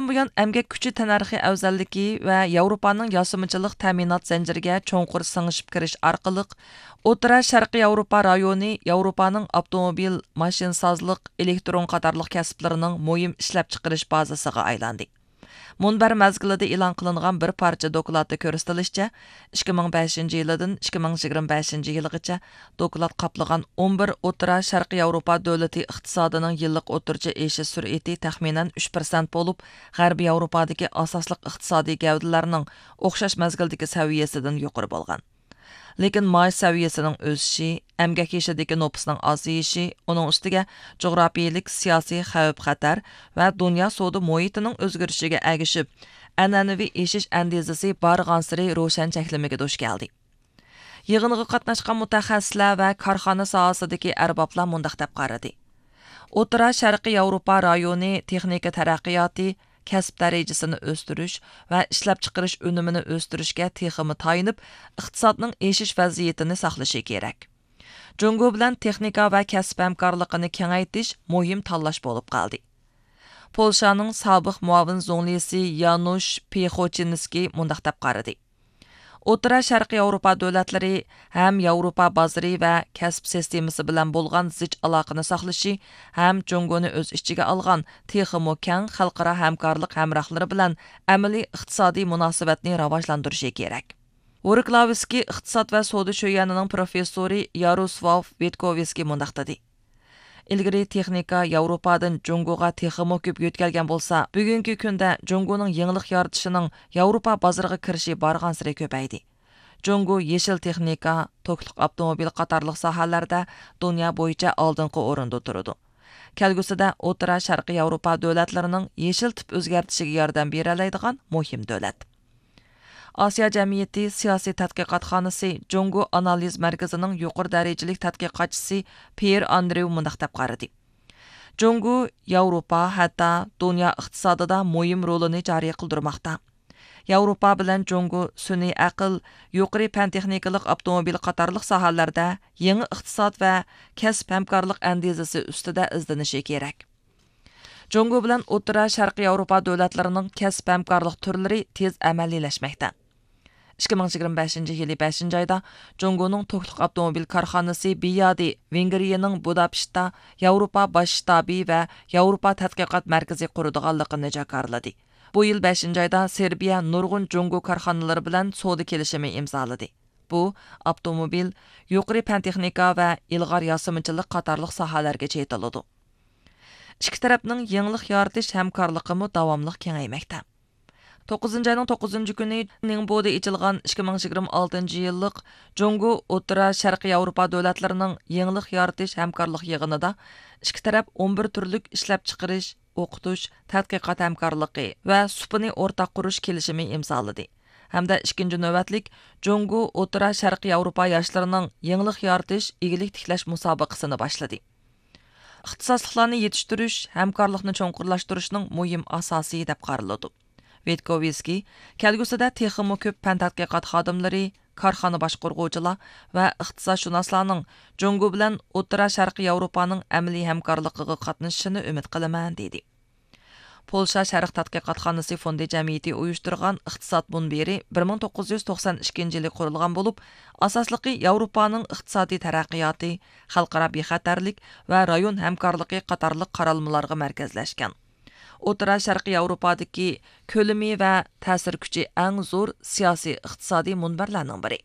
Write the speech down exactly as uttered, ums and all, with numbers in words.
بۇيان، ئەمگەك كۈچى تەننەرخى ئەۋزەللىكى ۋە ياۋروپانىڭ ياسىمىچىلىق تەمىنات زەنجىرىگە چوڭقۇر سىڭىشىپ كىرىش ئارقىلىق، ئوتتۇرا شەرقىي ياۋروپا رايونى ياۋروپانىڭ ئاپتوموبىل، ماشىنىسازلىق، ئېلېكترون قاتارلىق كەسىپلىرىنىڭ مۇھىم ئىشلەپچىقىرىش بازىسىغا ئايلاندى. مۇنبەر مەزگىلىدە ئېلان قىلىنغان بىر پارچە دوكلاتتا كۆرسىتىلىشىچە، ئىككى مىڭ بەشىنچى يىلىدىن ئىككى مىڭ يىگىرمە بەشىنچى يىلىغىچە دوكلات قاپلىغان ئون بىر ئوتتۇرا شەرقىي ياۋروپا دۆلىتى ئىقتىسادىنىڭ يىللىق ئوتتۇرىچە ئېشىش سۈرئىتى تەخمىنەن ئۈچ پىرسەنت بولۇپ، غەربىي ياۋروپادىكى ئاساسلىق ئىقتىسادىي گەۋدىلەرنىڭ ئوخشاش مەزگىلدىكى سەۋىيەسىدىن يۇقىرى بولغان. لېكىن مائاش سەۋىيەسىنىڭ ئۆسۈشى، ئەمگەك يېشىدىكى نوپۇسنىڭ ئازىيىشى، ئۇنىڭ ئۈستىگە جۇغراپىيىلىك سىياسىي خەۋپ-خەتەر ۋە دۇنيا سودا مۇھىتىنىڭ ئۆزگىرىشىگە ئەگىشىپ، ئەنئەنىۋى ئېشىش ئەندىزىسى بارغانسېرى روشەن چەكلىمىگە دۇچ كەلدى. يىغىنغا قاتناشقان مۇتەخەسسىسلەر ۋە كارخانا ساھەسىدىكى ئەربابلار مۇنداق دەپ قارىدى: ئوتتۇرا شەرقىي ياۋروپا رايونى تېخنىكا تەرەققىياتى، كەسىپ دەرىجىسىنى ئۆستۈرۈش ۋە ئىشلەپچىقىرىش ئۈنۈمىنى ئۆستۈرۈشكە تېخىمۇ تايىنىپ، ئىقتىسادنىڭ ئېشىش ۋەزىيىتىنى ساقلىشى كېرەك. جۇڭگو بىلەن تېخنىكا ۋە كەسىپ ھەمكارلىقىنى كېڭەيتىش مۇھىم تاللاش بولۇپ قالدى. پولشانىڭ سابىق مۇئاۋىن زۇڭلىسى يانۇش پىخوچىنسكىي مۇنداق دەپ قارىدى: ئوتتۇرا شەرقىي ياۋروپا دۆلەتلىرى ھەم ياۋروپا بازىرى ۋە كەسىپ سىستېمىسى بىلەن بولغان زىچ ئالاقىنى ساقلىشى ھەم جۇڭگونى ئۆز ئىچىگە ئالغان تېخىمۇ كەڭ خەلقئارا ھەمكارلىق ھەمراھلىرى بىلەن ئەمەلىي ئىقتىسادىي مۇناسىۋەتنى راۋاجلاندۇرۇشى كېرەك. ۋوركلاۋسكىي ئىقتىساد ۋە سودا شۆيەنىنىڭ پروفېسسورى ياروسلاۋ ۋىتكوۋسكىي مۇنداق دېدى: ئىلگىرى تېخنىكا ياۋروپادىن جۇڭگوغا تېخىمۇ كۆپ يۆتكەلگەن بولسا، بۈگۈنكى كۈندە جۇڭگونىڭ يېڭىلىق يارىتىشىنىڭ ياۋروپا بازىرىغا كىرىشى بارغانسېرى كۆپەيدى. جۇڭگو يېشىل تېخنىكا، توكلۇق ئاپتوموبىل قاتارلىق ساھەلەردە دۇنيا بويىچە ئالدىنقى ئورۇندا تۇرىدۇ. كەلگۈسىدە ئوتتۇرا شەرقىي ياۋروپا دۆلەتلىرىنىڭ يېشىل تىپ ئۆزگەرتىشىگە ياردەم بېرەلەيدىغان مۇھىم دۆلەت. ئاسىيا جەمئىيىتى سىياسىي تەتقىقاتخانىسى جۇڭگو ئانالىز مەركىزىنىڭ يۇقىرى دەرىجىلىك تەتقىقاتچىسى پيېر ئاندرېۋ مۇنداق دەپ قارىدى: جۇڭگو ياۋروپا، ھەتتا دۇنيا ئىقتىسادىدا مۇھىم رولىنى جارى قىلدۇرماقتا. ياۋروپا بىلەن جۇڭگو سۈنئىي ئەقىل، يۇقىرى پەن تېخنىكىلىق ئاپتوموبىل قاتارلىق ساھەلەردە يېڭى ئىقتىساد ۋە كەسىپ ھەمكارلىق ئەندىزىسى ئۈستىدە ئىزدىنىشى كېرەك. جۇڭگو بىلەن ئوتتۇرا شەرقىي ياۋروپا دۆلەتلىرىنىڭ كەسىپ ھەمكارلىق تۈرلىرى تېز ئەمەلىيلەشمەكتە. ئىككى مىڭ يىگىرمە بەشىنچى يىلى بەشىنچى ئايدا جۇڭگونىڭ توكلۇق ئاپتوموبىل كارخانىسى بىيادى ۋېنگرىيەنىڭ بۇداپېشتتا ياۋروپا باش شتابى ۋە ياۋروپا تەتقىقات مەركىزى قۇرىدىغانلىقىنى جاكارلىدى. بۇ يىل بەشىنچى ئايدا سېربىيە نۇرغۇن جۇڭگو كارخانىلىرى بىلەن سودا كېلىشىمى ئىمزالىدى. بۇ ئاپتوموبىل، يۇقىرى پەن تېخنىكا ۋە ئىلغار ياسىمىچىلىق قاتارلىق ساھەلەرگە چېتىلىدۇ. ئىككى تەرەپنىڭ يېڭىلىق يارىتىش ھەمكارلىقىمۇ داۋاملىق كېڭەيمەكتە. توققۇزىنچى ئاينىڭ توققۇزىنچى كۈنى نىڭبودا ئېچىلغان ئىككى مىڭ يىگىرمە ئالتىنچى يىللىق جۇڭگو ئوتتۇرا شەرقىي ياۋروپا دۆلەتلىرىنىڭ يېڭىلىق يارىتىش ھەمكارلىق يىغىنىدا ئىككى تەرەپ ئون بىر تۈرلۈك ئىشلەپچىقىرىش، ئوقۇتۇش، تەتقىقات ھەمكارلىقى ۋە سۇپىنى ئورتاق قۇرۇش كېلىشىمى ئىمزالىدى ھەمدە ئىككىنچى نۆۋەتلىك جۇڭگو ئوتتۇرا شەرقىي ياۋروپا ياشلىرىنىڭ يېڭىلىق يارىتىش، ئىگىلىك تىكلەش مۇسابىقىسىنى باشلىدى. ئىختىساسلىقلارنى يېتىشتۈرۈش ھەمكارلىقنى چوڭقۇرلاشتۇرۇشنىڭ مۇھىم ئاساسى دەپ قارىلىدۇ. ۋىتكوۋسكىي كەلگۈسىدە تېخىمۇ كۆپ پەن تەتقىقات خادىملىرى، كارخانا باشقۇرغۇچىلار ۋە ئىختىساسشۇناسلارنىڭ جۇڭگو بىلەن ئوتتۇرا شەرقىي ياۋروپانىڭ ئەمەلىي ھەمكارلىقىغا قاتنىشىشىنى ئۈمىد قىلىمەن، دېدى. پولشا شەرق تەتقىقاتخانىسى فوندى جەمئىيىتى ئۇيۇشتۇرغان ئىقتىساد مۇنبىرى بىر مىڭ توققۇز يۈز توقسان ئىككىنچى يىلى قۇرۇلغان بولۇپ، ئاساسلىقى ياۋروپانىڭ ئىقتىسادىي تەرەققىياتى، خەلقئارا بىخەتەرلىك ۋە رايون ھەمكارلىقى قاتارلىق قارالمىلارغا مەركەزلەشكەن. ئوتتۇرا شەرقىي ياۋروپادىكى كۆلىمى ۋە تەسىر كۈچى ئەڭ زور سىياسىي ئىقتىسادىي مۇنبەرلەرنىڭ بىرى.